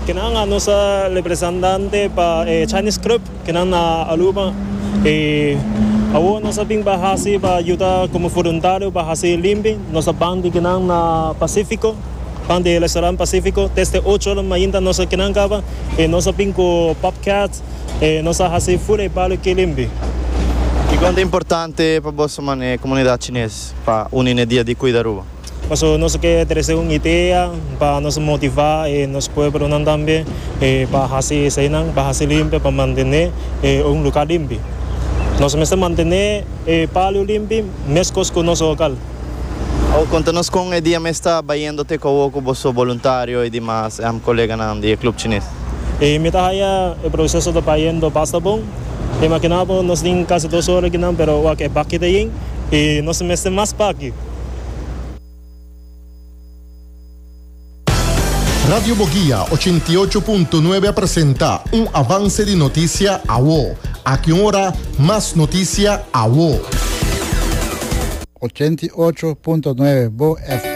Kinan nos a representante pa e Chinese Club kinan na Aruba y awor nos a bin pa haci pa yuda como voluntario pa haci limpi. Nos a ban di kinan na Pacifico, ban di restaurant Pacifico desde ocho ora mainta nos a kinan caba y nos a bin cu bobcat y nos a haci full e bario ki limpi. Kiko ta importante pa boso mane comunidad Chines pa uni n'e dia di Cuida Aruba? Pasobra nos ke trese un idea pa nos motivá e nos pueblonan tambe pa hasi eseinan, pa hasi limpi, pa mantené un lugá limpi. Nos mester mantené e palio limpi meskos ku nos lokal. Awor konta nos kon e dia mes ta bayendo te ku awor ku boso boluntario i dimas koleganan di e Club Chines. Mi ta haya e proseso ta bayendo basta bon. Imaginá bo nos tin kasi dos ora akinan pero wak e baki ta yen i nos mester mas baki. Radio Boguia 88.9 a presenta un avance di noticia awo. Aki un ora, mas noticia awo. 88.9 Bo FM.